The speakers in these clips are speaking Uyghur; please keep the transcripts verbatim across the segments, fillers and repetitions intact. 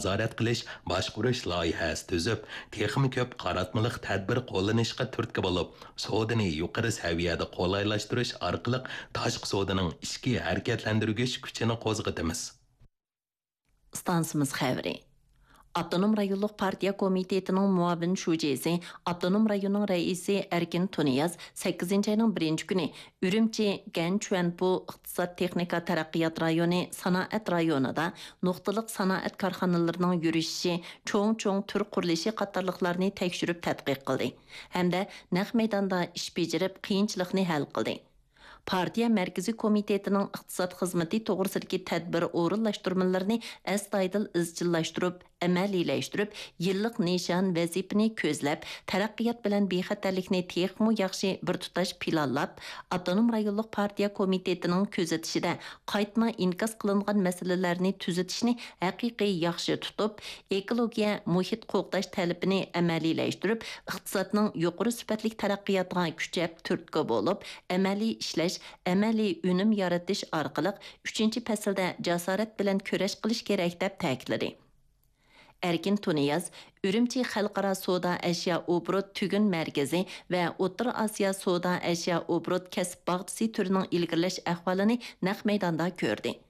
نازارەت قىلىش، باشقۇرۇش لايىھەسى تۈزۈپ، تېخىمۇ كۆپ قاراتمىلىق تەدبىر قوللىنىشقا تۈرتكە بولۇپ، سودىنى يۇقىرى سەۋىيەدە قولايلاشتۇرۇش ئارقىلىق تاشقى سودىنىڭ ئىچكى ھەرىكەتلەندۈرگۈچ كۈچىنى قوزغىتىمىز. ئىستانسىمىز خەۋىرى. ئاپتونوم رايونلۇق پارتىيە كومىتېتىنىڭ مۇئاۋىن شۇجىسى، ئاپتونوم رايوننىڭ رەئىسى ئەركىن تۇنىياز سەككىزىنچى ئاينىڭ بىرىنچى كۈنى ئۈرۈمچى گەنچۈەنپۇ ئىقتىساد تېخنىكا تەرەققىيات رايونى سانائەت رايونىدا نۇقتىلىق سانائەت كارخانىلىرىنىڭ يۈرۈشۈشى، چوڭ-چوڭ تۈر قۇرۇلۇشى قاتارلىقلارنى تەكشۈرۈپ تەتقىق قىلدى ھەمدە نەق مەيداندا ئىش بېجىرىپ، قىيىنچىلىقنى ھەل قىلدى. پارتىيە مەركىزىي كومىتېتىنىڭ ئىقتىساد خىزمىتى توغرىسىدىكى تەدبىر ئورۇنلاشتۇرمىلىرىنى ئەستايىدىل ئىزچىللاشتۇرۇپ، ئەمەلىيلەشتۈرۈپ، يىللىق نىشان، ۋەزىپىنى كۆزلەپ، تەرەققىيات بىلەن بىخەتەرلىكنى تېخىمۇ ياخشى بىر تۇتاش پىلانلاپ، ئاپتونوم رايونلۇق پارتىيە كومىتېتىنىڭ كۆزىتىشىدە قايتما ئىنكاس قىلىنغان مەسىلىلەرنى تۈزىتىشنى ھەقىقىي ياخشى تۇتۇپ، ئېكولوگىيە، مۇھىت قوغداش تەلىپىنى ئەمەلىيلەشتۈرۈپ، ئىقتىسادنىڭ يۇقىرى سۈپەتلىك تەرەققىياتىغا كۈچەپ تۈرتكە بولۇپ، ئەمەلىي ئىشلەش، ئەمەلىي ئۈنۈم يارىتىش ئارقىلىق ئۈچىنچى پەسىلدە جاسارەت بىلەن كۈرەش قىلىش كېرەك، دەپ تەكىتلىدى. ئەركىن تۇنىياز ئۈرۈمچى خەلقئارا سودا ئەشيا ئوبوروت تۈگۈن مەركىزى ۋە ئوتتۇرا ئاسىيا سودا ئەشيا ئوبوروت كەسىپ باغچىسى تۈرىنىڭ ئىلگىرىلەش ئەھۋالىنى نەق مەيداندا كۆردى.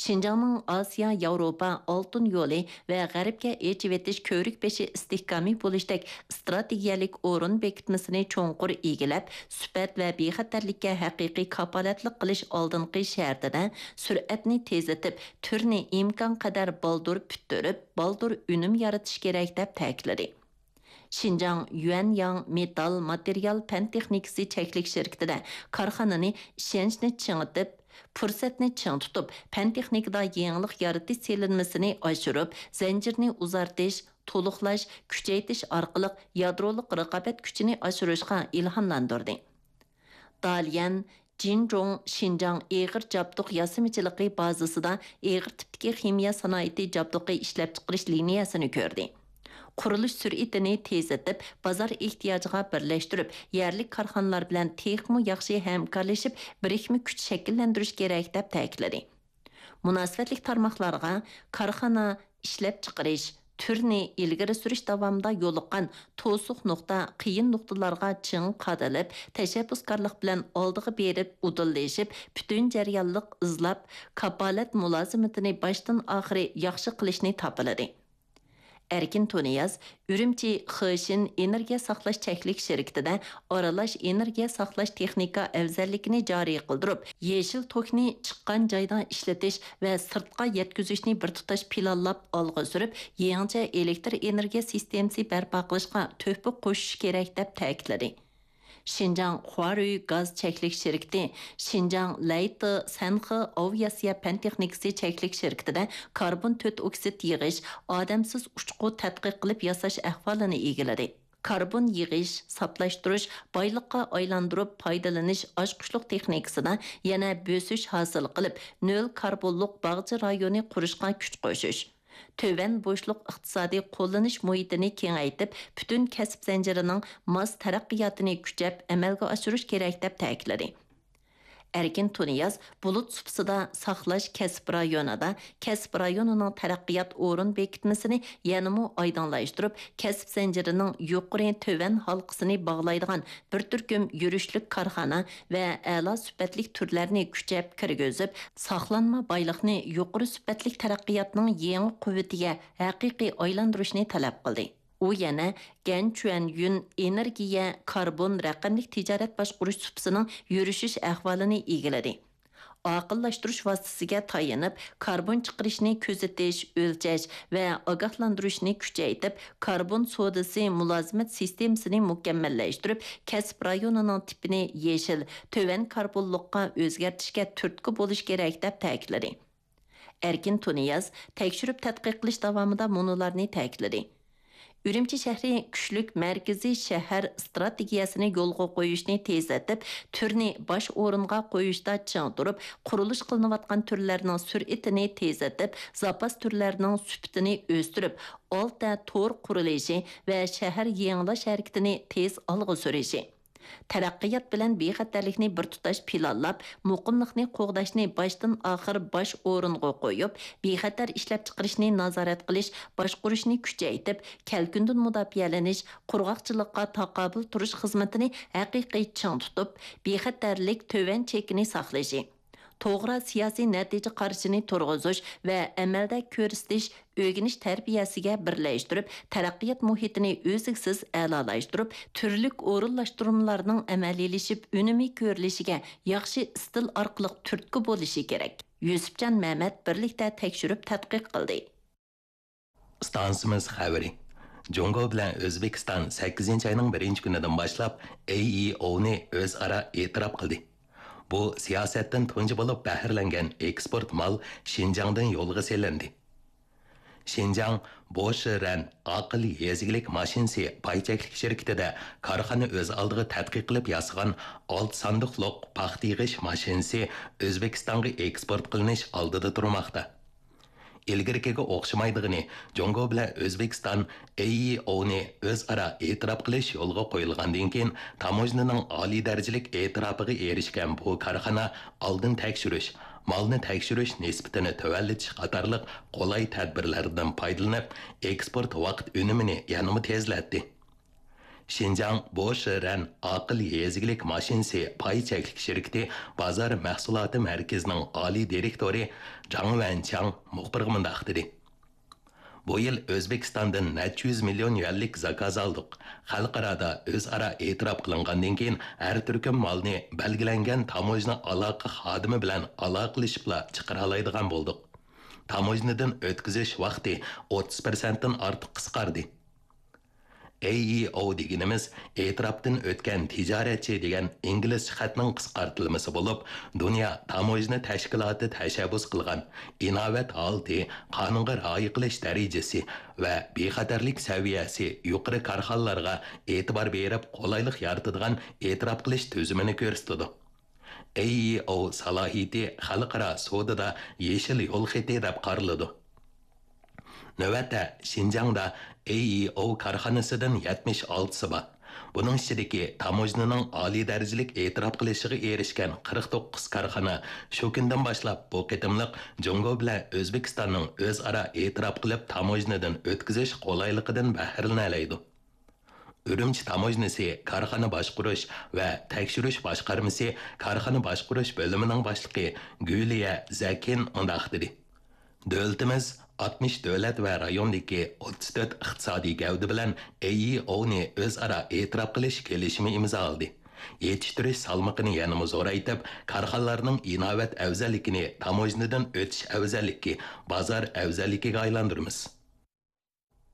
شىنجاڭنىڭ ئاسىيا ياۋروپا ئالتۇن يولى ۋە غەربكە ئېچىۋېتىش كۆۋرۈك بېشى ئىستىھكامى بولۇشتەك ئىستراتېگىيەلىك ئورۇن بېكىتمىسىنى چوڭقۇر ئىگىلەپ، سۈپەت ۋە بىخەتەرلىككە ھەقىقىي كاپالەتلىك قىلىش ئالدىنقى شەرتىدە سۈرئەتنى تېزلىتىپ، تۈرنى ئىمكانقەدەر بالدۇر پۈتتۈرۈپ، بالدۇر ئۈنۈم يارىتىش كېرەك، دەپ تەكىتلىدى. شىنجاڭ يۈەنياڭ مېتال ماتېرىيال پەن تېخنىكىسى چەكلىك شىركىتىدە كارخانىنى ئىشەنچنى چىڭىتىپ، پۇرسەتنى چىڭ تۇتۇپ، پەن تېخنىكىدا يېڭىلىق يارىتىش سېلىنمىسىنى ئاشۇرۇپ، زەنجىرنى ئۇزارتىش، تولۇقلاش، كۈچەيتىش ئارقىلىق يادرولۇق رىقابەت كۈچىنى ئاشۇرۇشقا ئىلھاملاندۇردى. داليەن جىنجۇڭ شىنجاڭ ئېغىر جابدۇق ياسىمىچىلىقى بازىسىدا ئېغىر تىپتىكى خىمىيە سانائىتى جابدۇقى ئىشلەپچىقىرىش لىنىيەسىنى كۆردى. قۇرۇلۇش سۈرئىتىنى تېزلىتىپ، بازار ئېھتىياجىغا بىرلەشتۈرۈپ، يەرلىك كارخانىلار بىلەن تېخىمۇ ياخشى ھەمكارلىشىپ، بىرىكمە كۈچ شەكىللەندۈرۈش كېرەك، دەپ تەكىتلىدى. مۇناسىۋەتلىك تارماقلارغا كارخانا، ئىشلەپچىقىرىش، تۈرنى ئىلگىرى سۈرۈش داۋامىدا يولۇققان توسۇق نۇقتا، قىيىن نۇقتىلارغا چىڭ قادىلىپ، تەشەببۇسكارلىق بىلەن ئالدىغا بېرىپ، ئۇدۇللىشىپ، پۈتۈن جەريانلىق ئىزلاپ، كاپالەت مۇلازىمىتىنى باشتىن ئاخىرى ياخشى قىلىشنى تاپىلىدى. ئەركىن تۇنىياز ئۈرۈمچى خېشىن ئېنېرگىيە ساقلاش چەكلىك شىركىتىدە ئارىلاش ئېنېرگىيە ساقلاش تېخنىكا ئەۋزەللىكىنى جارى قىلدۇرۇپ، يېشىل توكنى چىققان جايدا ئىشلىتىش ۋە سىرتقا يەتكۈزۈشنى بىر تۇتاش پىلانلاپ ئالغا سۈرۈپ، يېڭىچە ئېلېكتر ئېنېرگىيە سىستېمىسى بەرپا قىلىشقا تۆھپە قوشۇش كېرەك، دەپ تەكىتلىدى. شىنجاڭ خۇارۈي گاز چەكلىك شىركىتى، شىنجاڭ لەيتى سەنخې ئاۋىئاتسىيە پەن تېخنىكىسى چەكلىك شىركىتىدە كاربون تۆت ئوكسىد يىغىش، ئادەمسىز ئۇچقۇ تەتقىق قىلىپ ياساش ئەھۋالىنى ئىگىلىدى. كاربون يىغىش، ساپلاشتۇرۇش، بايلىققا ئايلاندۇرۇپ پايدىلىنىش ئاچقۇچلۇق تېخنىكىسىدا يەنە بۆسۈش ھاسىل قىلىپ، نۆل كاربونلۇق باغچە رايونى قۇرۇشقا كۈچ قوشۇش، تۆۋەن بوشلۇق ئىقتىسادىي قوللىنىش مۇھىتىنى كېڭەيتىپ، پۈتۈن كەسىپ زەنجىرىنىڭ ماس تەرەققىياتىنى كۈچەپ ئەمەلگە ئاشۇرۇش كېرەك، دەپ تەكىتلىدى. ئەركىن تۇنىياز بۇلۇت سۇپىسىدا ساقلاش كەسىپ رايونىدا كەسىپ رايونىنىڭ تەرەققىيات ئورۇن بېكىتمىسىنى يەنىمۇ ئايدىڭلاشتۇرۇپ، كەسىپ زەنجىرىنىڭ يۇقىرى، تۆۋەن ھالقىسىنى باغلايدىغان بىر تۈركۈم يۈرۈشلۈك كارخانا ۋە ئەلا سۈپەتلىك تۈرلەرنى كۈچەپ كىرگۈزۈپ، ساقلانما بايلىقنى يۇقىرى سۈپەتلىك تەرەققىياتنىڭ يېڭى قۇۋۋىتىگە ھەقىقىي ئايلاندۇرۇشنى تەلەپ قىلدى. ئۇ يەنە گەنچۈەنيۈن ئېنېرگىيە، كاربون، رەقەملىك تىجارەت باشقۇرۇش سۇپىسىنىڭ يۈرۈشۈش ئەھۋالىنى ئىگىلىدى. ئاقىللاشتۇرۇش ۋاسىتىسىگە تايىنىپ، كاربون چىقىرىشنى كۆزىتىش، ئۆلچەش ۋە ئاگاھلاندۇرۇشنى كۈچەيتىپ، كاربون سودىسى مۇلازىمەت سىستېمىسىنى مۇكەممەللەشتۈرۈپ، كەسىپ رايونىنىڭ تىپىنى يېشىل، تۆۋەن كاربونلۇققا ئۆزگەرتىشكە تۈرتكە بولۇش كېرەك، دەپ تەكىتلىدى. ئەركىن تۇنىياز تەكشۈرۈپ تەتقىق قىلىش داۋامىدا مۇنۇلارنى تەكىتلىدى. ئۈرۈمچى شەھىرى كۈچلۈك مەركىزىي شەھەر ئىستراتېگىيەسىنى يولغا قويۇشنى تېزلىتىپ، تۈرنى باش ئورۇنغا قويۇشتا چىڭ تۇرۇپ، قۇرۇلۇش قىلىنىۋاتقان تۈرلەرنىڭ سۈرئىتىنى تېزلىتىپ، زاپاس تۈرلەرنىڭ سۈپىتىنى ئۆستۈرۈپ، ئالتە تور قۇرۇلۇشى ۋە شەھەر يېڭىلاش ھەرىكىتىنى تېز ئالغا سۈرۈشى، تەرەققىيات بىلەن بىخەتەرلىكنى بىر تۇتاش پىلانلاپ، مۇقىملىقنى قوغداشنى باشتىن ئاخىر باش ئورۇنغا قويۇپ، بىخەتەر ئىشلەپچىقىرىشنى نازارەت قىلىش، باشقۇرۇشنى كۈچەيتىپ، كەلكۈندىن مۇداپىئەلىنىش، قۇرغاقچىلىققا تاقابىل تۇرۇش خىزمىتىنى ھەقىقىي چىڭ تۇتۇپ، بىخەتەرلىك تۆۋەن چېكىنى ساقلىشى، توغرا سىياسىي نەتىجە قارىشىنى تۇرغۇزۇش ۋە ئەمەلدە كۆرسىتىش، ئۆگىنىش تەربىيەسىگە بىرلەشتۈرۈپ، تەرەققىيات مۇھىتىنى ئۈزلۈكسىز ئەلالاشتۇرۇپ، تۈرلۈك ئورۇنلاشتۇرمىلارنىڭ ئەمەلىيلىشىپ، ئۈنۈمى كۆرۈلۈشىگە ياخشى ئىستىل ئارقىلىق تۈرتكە بولۇشى كېرەك. يۈسۈپجان مەمەت بىرلىكتە تەكشۈرۈپ تەتقىق قىلدى. ئىستانسىمىز خەۋىرى. جۇڭگو بىلەن ئۆزبېكىستان سەككىزىنچى ئاينىڭ بىرىنچى كۈنىدىن باشلاپ ئەي ئى ئوۋنى ئۆزئارا ئېتىراپ قىلدى. بۇ سىياسەتتىن تۇنجى بولۇپ بەھرىلەنگەن ئېكسپورت مال شىنجاڭدىن يولغا سېلىندى. شىنجاڭ بوشىرەن ئاقىل يېزا ئىگىلىك ماشىنىسى پاي چەكلىك شىركىتىدە كارخانا ئۆز ئالدىغا تەتقىق قىلىپ ياسىغان ئالتە ساندۇقلۇق پاختا يىغىش ماشىنىسى ئۆزبېكىستانغا ئېكسپورت قىلىنىش ئالدىدا تۇرماقتا. ئىلگىرىكىگە ئوخشىمايدىغىنى، جۇڭگو بىلەن ئۆزبېكىستان ئەي ئى ئوۋنى ئۆزئارا ئېتىراپ قىلىش يولغا قويۇلغاندىن كېيىن، تاموژنىنىڭ ئالىي دەرىجىلىك ئېتىراپىغا ئېرىشكەن بۇ كارخانا ئالدىن تەكشۈرۈش، مالنى تەكشۈرۈش نىسبىتىنى تۆۋەنلىتىش قاتارلىق قولاي تەدبىرلەردىن پايدىلىنىپ، ئېكسپورت ۋاقىت ئۈنۈمىنى يەنىمۇ تېزلەتتى. شىنجاڭ بوشىرەن ئاقىل يېزا ئىگىلىك ماشىنىسى پاي چەكلىك شىركىتى بازار مەھسۇلاتى مەركىزىنىڭ ئالىي دىرېكتورى جاڭ ۋەنچياڭ مۇخبىرغا مۇنداق دېدى: بۇ يىل ئۆزبېكىستاندىن نەچچە يۈز مىليون يۈەنلىك زاكاز ئالدۇق. خەلقئارادا ئۆزئارا ئېتىراپ قىلىنغاندىن كېيىن، ھەر تۈركۈم مالنى بەلگىلەنگەن تاموژنا ئالاقە خادىمى بىلەن ئالاقىلىشىپلا چىقىرالايدىغان بولدۇق. تاموژنىدىن ئۆتكۈزۈش ۋاقتى ئوتتۇز پىرسەنتتىن ئارتۇق قىسقاردى. ئەي ئى ئوۋ دېگىنىمىز ئېتىراپتىن ئۆتكەن تىجارەتچى دېگەن ئىنگلىزچە خەتنىڭ قىسقارتىلمىسى بولۇپ، دۇنيا تاموژنا تەشكىلاتى تەشەببۇس قىلغان ئىناۋەت ھالىتى، قانۇنغا رىئايە قىلىش دەرىجىسى ۋە بىخەتەرلىك سەۋىيەسى يۇقىرى كارخانىلارغا ئېتىبار بېرىپ، قولايلىق يارىتىدىغان ئېتىراپ قىلىش تۈزۈمىنى كۆرسىتىدۇ. ئەي ئى ئوۋ سالاھىيىتى خەلقئارا سودىدا يېشىل يول خېتى دەپ قارىلىدۇ. نۆۋەتتە شىنجاڭدا ئەي ئى ئوۋ كارخانىسىدىن يەتمىش ئالتىسى بار. بۇنىڭ ئىچىدىكى تاموژنىنىڭ ئالىي دەرىجىلىك ئېتىراپ قىلىشىغا ئېرىشكەن قىرىق توققۇز كارخانا شۇ كۈندىن باشلاپ بۇ قېتىملىق جۇڭگو بىلەن ئۆزبېكىستاننىڭ ئۆزئارا ئېتىراپ قىلىپ تاموژنىدىن ئۆتكۈزۈش قولايلىقىدىن بەھرىلىنەلەيدۇ. ئۈرۈمچى تاموژنىسى كارخانا باشقۇرۇش ۋە تەكشۈرۈش باشقارمىسى كارخانا باشقۇرۇش بۆلۈمىنىڭ باشلىقى گۈلىيە زەكىن مۇنداق دېدى: دۆلىتىمىز ئاتمىش دۆلەت ۋە رايوندىكى ئوتتۇز تۆت ئىقتىسادىي گەۋدە بىلەن ئەي ئى ئوۋنى ئۆزئارا ئېتىراپ قىلىش كېلىشىمى ئىمزالىدى. يېتىشتۈرۈش سالمىقىنى يەنىمۇ زورايتىپ، كارخانىلارنىڭ ئىناۋەت ئەۋزەللىكىنى تاموژنىدىن ئۆتۈش ئەۋزەللىكى، بازار ئەۋزەللىكىگە ئايلاندۇرىمىز.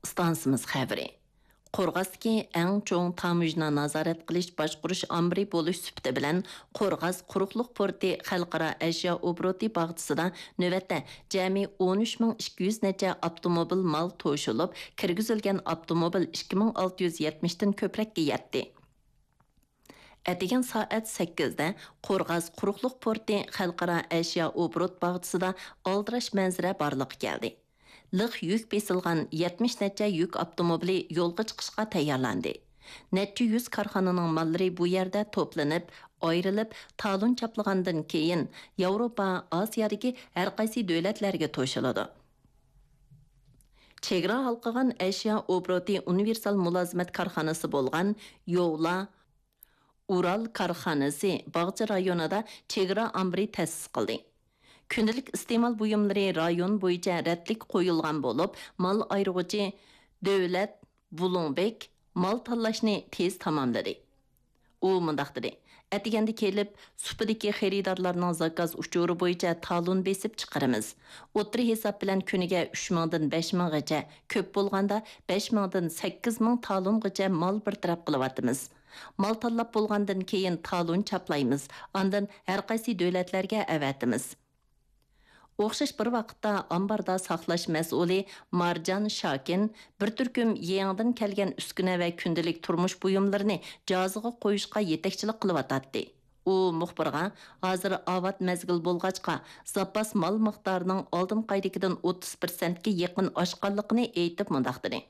ئىستانسىمىز خەۋىرى. قورغاستىكى ئەڭ چوڭ تاموژنا نازارەت قىلىش باشقۇرۇش ئامبىرى بولۇش سۈپىتى بىلەن، قورغاس قۇرۇقلۇق پورتى خەلقئارا ئەشيا ئوبوروتى باغچىسىدا نۆۋەتتە جەمئىي ئون ئۈچ مىڭ ئىككى يۈز نەچچە ئاپتوموبىل مال توشۇلۇپ، كىرگۈزۈلگەن ئاپتوموبىل ئىككى مىڭ ئالتە يۈز يەتمىشتىن كۆپرەككە يەتتى. ئەتىگەن سائەت سەككىزدە قورغاس قۇرۇقلۇق پورتى خەلقئارا ئەشيا ئوبوروت باغچىسىدا ئالدىراش مەنزىرە بارلىققا كەلدى. لىق يۈك بېسىلغان يەتمىش نەچچە يۈك ئاپتوموبىلى يولغا چىقىشقا تەييارلاندى. نەچچە يۈز كارخانىنىڭ ماللىرى بۇ يەردە توپلىنىپ، ئايرىلىپ، تالون چاپلىغاندىن كېيىن، ياۋروپا، ئاسىيادىكى ھەرقايسى دۆلەتلەرگە توشۇلىدۇ. چېگرا ھالقىغان ئەشيا ئوبوروتى ئۇنىۋېرسال مۇلازىمەت كارخانىسى بولغان يوۋلا ئۇرال كارخانىسى باغچە رايونىدا چېگرا ئامبىرى تەسىس قىلدى. كۈندىلىك ئىستېمال بۇيۇملىرى رايون بويىچە رەتلىك قويۇلغان بولۇپ، مال ئايرىغۇچى دۆلەت بۇلۇڭبېك مال تاللاشنى تېز تاماملىدى. ئۇ مۇنداق دېدى: ئەتىگەندە كېلىپ، سۇپىدىكى خېرىدارلارنىڭ زاكاز ئۇچۇرى بويىچە تالون بېسىپ چىقىرىمىز. ئوتتۇرا ھېساب بىلەن كۈنىگە ئۈچ مىڭدىن بەش مىڭغىچە، كۆپ بولغاندا بەش مىڭدىن سەككىز مىڭ تالونغىچە مال بىر تەرەپ قىلىۋاتىمىز. مال تاللاپ بولغاندىن كېيىن تالون چاپلايمىز، ئاندىن ھەرقايسى دۆلەتلەرگە ئەۋەتىمىز. ئوخشاش بىر ۋاقىتتا ئامباردا ساقلاش مەسئۇلى مارجان شاكىن بىر تۈركۈم يېڭىدىن كەلگەن ئۈسكۈنە ۋە كۈندىلىك تۇرمۇش بۇيۇملىرىنى جازىغا قويۇشقا يېتەكچىلىك قىلىۋاتاتتى. ئۇ مۇخبىرغا، ھازىر ئاۋات مەزگىل بولغاچقا، زاپاس مال مىقدارىنىڭ ئالدىنقى ئايدىكىدىن ئوتتۇز پىرسەنتكە يېقىن ئاشقانلىقىنى ئېيتىپ مۇنداق دېدى: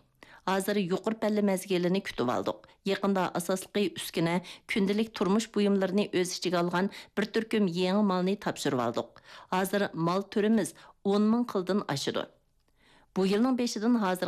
ھازىر يۇقىرى پەللە مەزگىلىنى كۈتۈۋالدۇق. يېقىندا ئاساسلىقى ئۈسكۈنە، كۈندىلىك تۇرمۇش بۇيۇملىرىنى ئۆز ئىچىگە ئالغان بىر تۈركۈم يېڭى مالنى تاپشۇرۇۋالدۇق. ھازىر مال تۈرىمىز ئون مىڭ خىلدىن ئاشىدۇ. بۇ يىلنىڭ بېشىدىن ھازىرغا